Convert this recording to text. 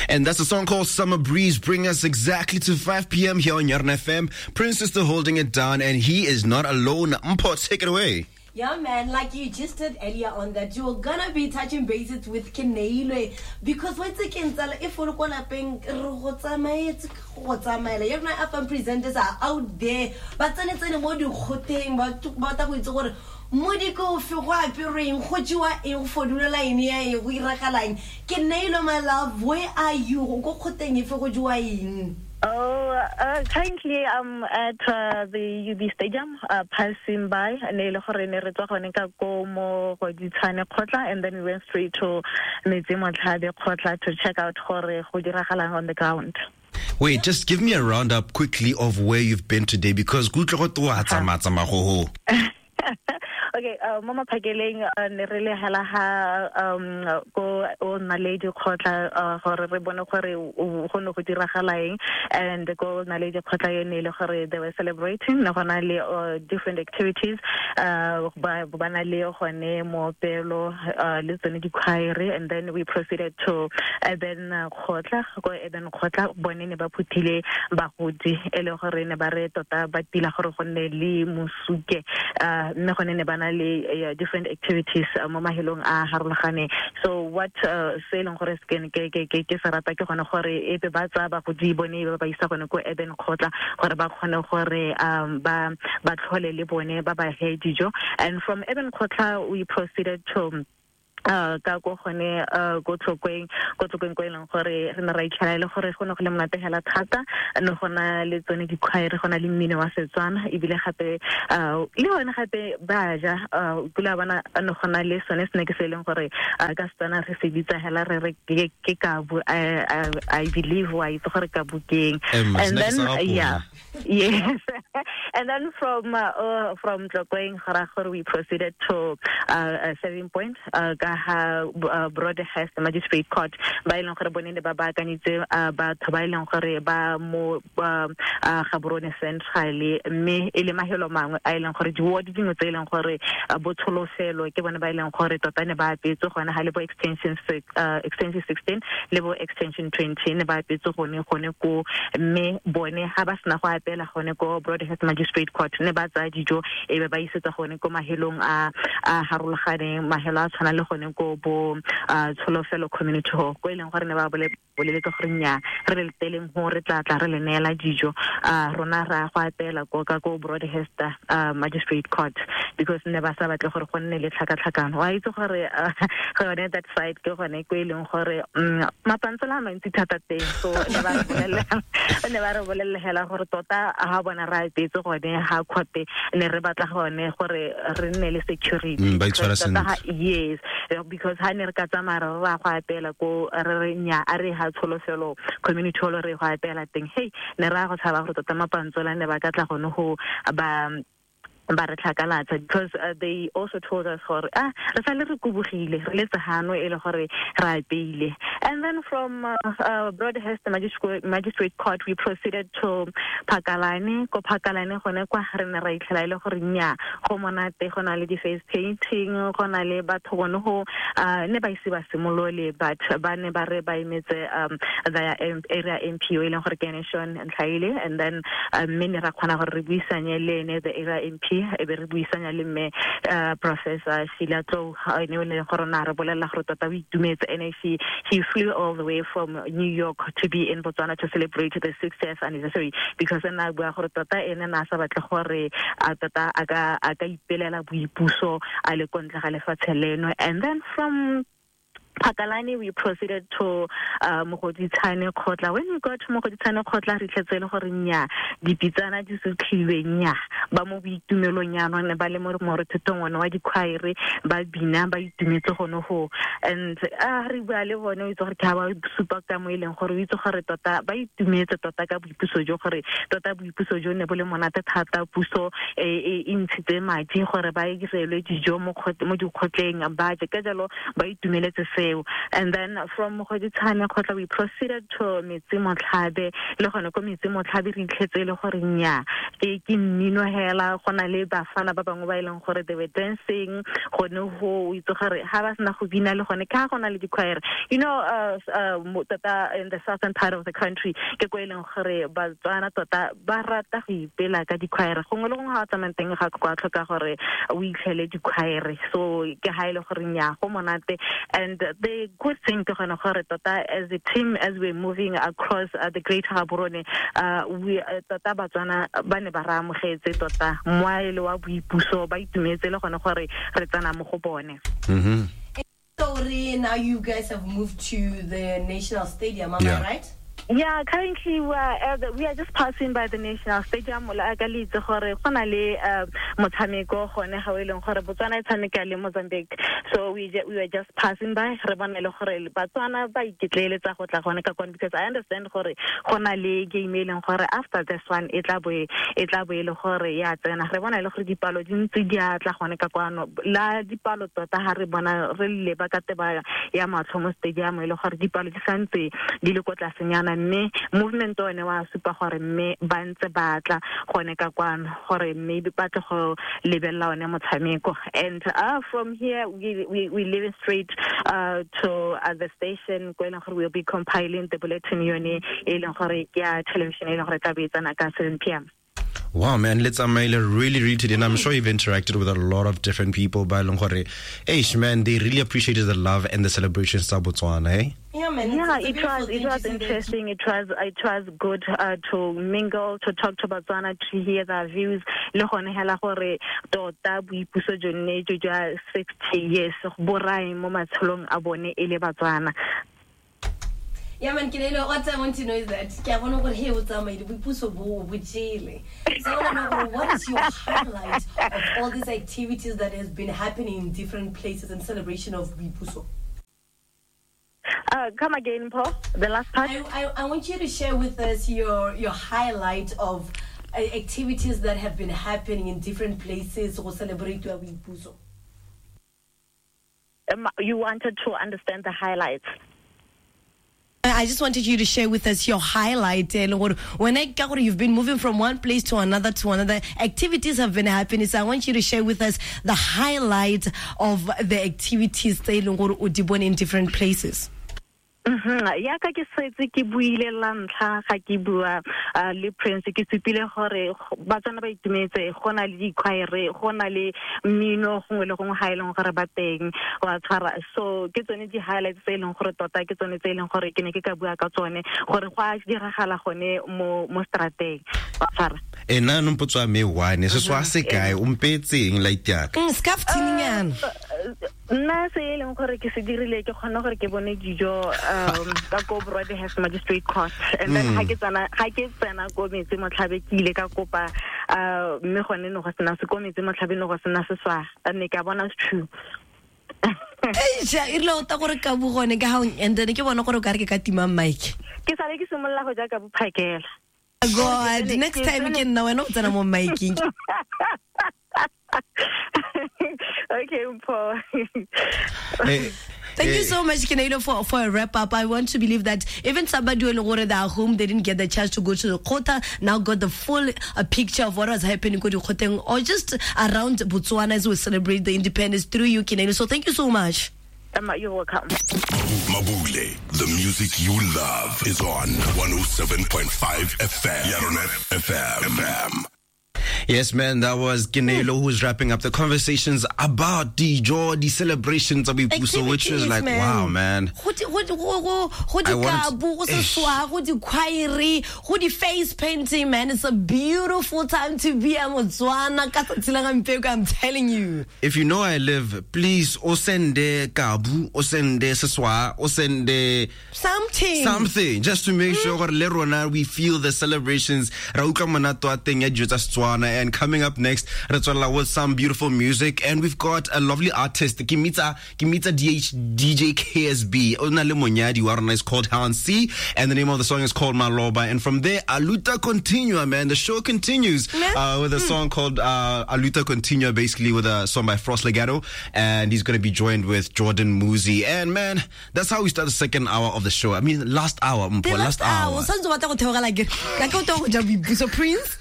And that's a song called Summer Breeze, bring us exactly to 5 p.m. here on Yarn FM. Prince is still holding it down, and he is not alone. Mpho, take it away. Yeah, man, like you just said earlier on that you're gonna be touching bases with Keneilwe because what's the if we're gonna go tsamaela ya rona FM presenters are out there ba tsenetsene mo dikgoteng ba batla go itse gore modiko ofe go aperweng go jewa eng go fodula eng ya eng go iragalang. Keneilwe, my love, where are you? Go kgoteng efe, go jewa eng? Oh, currently I'm at the UB Stadium, passing by. Ne le gore ne re tswa gone ka ko mo Mogoditshane kgotla, and then we went straight to Metsi Motlhabe kgotla to check out gore go diragalang on the ground. Wait, just give me a roundup quickly of where you've been today, because kutlwe go twa tsamaya tsamaya go ho. Okay, mo maphakeleng ne re le hela ha ko o Naledi kgotla gore re bone gore go ne go diragala eng, and ko Naledi kgotla yone le gore they were celebrating, ne gona le different activities, ba na le gone moopelo le tsone di-choir, and then we proceeded to Eben kgotla. Ko Eben kgotla bone ne ba phuthile bagodi e le gore ne ba re tota ba tila gore go nne le mosuke, mme gone ne ba na le different activities mo mahelong a harologaneng. So what se e leng gore ke ke ke ke se rata ke gone gore ebe ba tsaya bagodi bone ba ba isa gone ko Eben kgotla gore ba kgone gore ba tlhole le bone ba ba he dijo. And from Eben kgotla we proceeded to ka ko gone ko Tlokweng, ko Tlokweng ko e leng gore re ne ra itlhela e le gore go ne go le monate hela thata, ne go na le tsone di-choir, go na le mmino wa Setswana, ebile gape le gone gape ba ja kula bona ne go na le sone snack se e leng gore ka Setswana re se bitsa hela re re ke kabu. I believe wa itse gore kabu keng. And then yeah, yes, and then from Tlokweng gore we proceeded to 7 Point ka ha Broadhurst Magistrate Court, ba e leng gore bone ne ba baakanyitse batho ba e leng gore ba mo Gaborone Central, mme e le mahelo mangwe a e leng gore di-ward dingwe tse e leng gore botsholofelo ke bone ba e leng gore tota ne ba apetse gone ga le bo extension 16 le bo extension 20 ne ba apetse gone ko, mme bone ga ba sena go apela gone ko Broadhurst Magistrate Court ne ba tsaya dijo e be ba isetsa gone ko mahelong a harologaneng, mahelo a tshwana le gone ko bo Tsholofelo Community Hall ko e leng gore ne ba boleletse gore nnyaa re le teleng go re tla tla re le neela dijo, rona ra go apela ko ka ko Broadhurst Magistrate Court, because ne ba sa batle gore go nne le tlhakatlhakano. Wa itse gore gone that side ke gone ko e leng gore mapantsela a mantsi thata teng, so ne ba re bolelela hela gore tota ha bona re apetse gone ha court ne re batla gone gore re nne le security. Ba itshwara sentle. Yes, because ha ne re ka tsamaya re ra go apela ko re re nya a re ha Tsholofelo Community Hall re go apela teng, hey ne ra go tshaba gore tota mapantsola ne ba ka tla gone go ba re tlhakalatsa, because they also told us gore re sale re kubugile re letse hano e le gore re apeile. And then from Broadhurst Magistrate Court we proceeded to Phakalane. Ko Phakalane gone kwa re ne ra itlhela e le gore nya go monate, go na le di-face painting, go na le batho gone go ne ba ise ba simolole, but ba ne ba re ba emetse the area MP e leng gore ke ene Sean Ntlhaile, and then mme ne ra kgona gore re buisanye le ene the area MP, e be re buisanya le mme Professor Sheila Tlou, ene o leng gore na re bolelela gore tota o itumetse, ene he flew all the way from New York to be in Botswana to celebrate the 60th anniversary, because ena bua gore tota ene na sa batle gore tota a ka ipelela boipuso a le kontle ga lefatshe leno. And then from Phakalane we proceeded to Mogoditshane kgotla. When we got to Mogoditshane kgotla re tletse le gore nya dipitsana di sutlhilwe, nya ba mo boitumelong yana ne ba le mo morethetong one wa di-choir ba bina ba itumetse gone go. And re bua le bone o itse gore ke ha ba supa ka mo e leng gore o itse gore tota ba itumetse tota ka boipuso jo, gore tota boipuso jo ne bo le monate thata, puso e ntshitse madi gore ba irelwe dijo mo dikgotleng ba je, ka jalo ba itumeletse seo. tseo. And then from Mogoditshane kgotla we proceeded to Metsi Motlhabe, le gone ko Metsi Motlhabe re itlhetse e le gore nya ke mmino hela, go na le bafana ba bangwe ba e leng gore they were dancing gone ho, o itse gore ha ba sena go bina le gone ka go na le di-choir, tota in the southern part of the country ke ko e leng gore Batswana tota ba rata go ipela ka di-choir. Gongwe le gongwe ga o tsamayang teng ga kwa tlhoka gore o itlhele di-choir, so ke ha e le gore nya go monate. And the good thing ke gone gore tota as a team, as we're moving across the greater Gaborone, we tota Batswana ba ne ba re amogetse tota moaele wa boipuso, ba itumetse le gone gore re tsena mo go bone. So now you guys have moved to the National Stadium, am I right? Yeah, currently we are just passing by the National Stadium. La ka le itse gore go na le motshameko gone ga o e leng gore Botswana e tshameka le Mozambique. So we were just passing by, re bona le gore Batswana ba iketleeletsa go tla gone ka kwane, because I understand gore go na le game e leng gore after this one e tla bo e le gore ya tsena. Re bona le gore dipalo di ntse di a tla gone ka kwano, la dipalo tota ha re bona re leba ka teba ya matlho mo stadium e le gore dipalo di santse di le ko tlasenyana, mme movement one wa supa gore mme ba ntse ba tla gone ka kwano gore maybe ba tle go lebelela one motshameko. And from here we leave straight to the station ko e leng gore we'll be compiling the bulletin yone e leng gore ke ya television e leng gore tla be e tsena ka 7 p.m. Wow, man, let's really, really today. And I'm sure you've interacted with a lot of different people. By Longore, hey, man, they really appreciated the love and the celebrations of Botswana, eh? Yeah, man. Yeah, it was interesting. It was good to mingle, to talk to Botswana, to hear their views. Le gone hela gore tota boipuso jonne jo jwa 60 years bo rae mo matshelong a bone e le Batswana. Yeah, man, Kenelo, what I want to know is that so I want to know, what is your highlight of all these activities that has been happening in different places in celebration of Boipuso? Come again, Paul, the last part. I want you to share with us your highlight of activities that have been happening in different places to celebrate Boipuso. You wanted to understand the highlights. I just wanted you to share with us your highlight. When I you've been moving from one place to another, activities have been happening. So I want you to share with us the highlight of the activities in different places. Ya ka ke setse ke buile la ntlha ga ke bua le Prince, ke supile gore Batswana ba itumetse, go na le di-choir, go na le mmino gongwe le gongwe ga e leng gore ba teng wa tshwara. So ke tsone di-highlights tse e leng gore tota ke tsone tse e leng gore ke ne ke ka bua ka tsone gore go a diragala gone mo strateng wa tshwara. E nna nompotso wa me one se swa se kae o mpetseng light yaka scarf tininyana. Nna se e leng gore ke se dirile ke kgone gore ke bone dijo ka ko Broadhurst Magistrate Court, and then ha ke tsena ko Metsi Motlhabe ke ile ka kopa mme gone no go sena se ko Metsi Motlhabe no go sena se swa ne ka bona true. Eish, e rile o ta gore ka bo gone ka ha and then ke bona gore o ka re ke ka tima mic. Ke sale ke simolola go ja ka bophakela. God, next time ke nna wena o tsena mo micing. Okay, Paul. Thank you so much, Kenelo, for a wrap-up. I want to believe that even somebody who at home, they didn't get the chance to go to the Kgotla, now got the full picture of what was happening in or just around Botswana as we celebrate the independence through you, Kenelo. So thank you so much. You're welcome. Mabule, the music you love is on 107.5 FM. Yarona FM. Yes, man, that was Kenelo who's wrapping up the conversations about the joy, the celebrations of Boipuso, which is like, man. Wow, man. Go di face painting, man. It's a beautiful time to be a Motswana. I'm telling you. If you know I live, please, osende kabu, osende seswa, osende something, just to make sure le rona we feel the celebrations. Ra utlwa monate wa teng ya dijo tsa Setswana And coming up next, re tswelela with some beautiful music, and we've got a lovely artist, Kimitsa DH DJ KSB. O na le monyadi wa rona is called Han C, and the name of the song is called Maloba. And from there, Aluta Continua, man. The show continues with a song called Aluta Continua, basically with a song by Frost Legato, and he's going to be joined with Jordan Muzi. And man, that's how we start the second hour of the show. I mean, last hour, Mpho, last hour. O santse o batla go theogela ke ka ke o tlo go ja boipuso, Prince.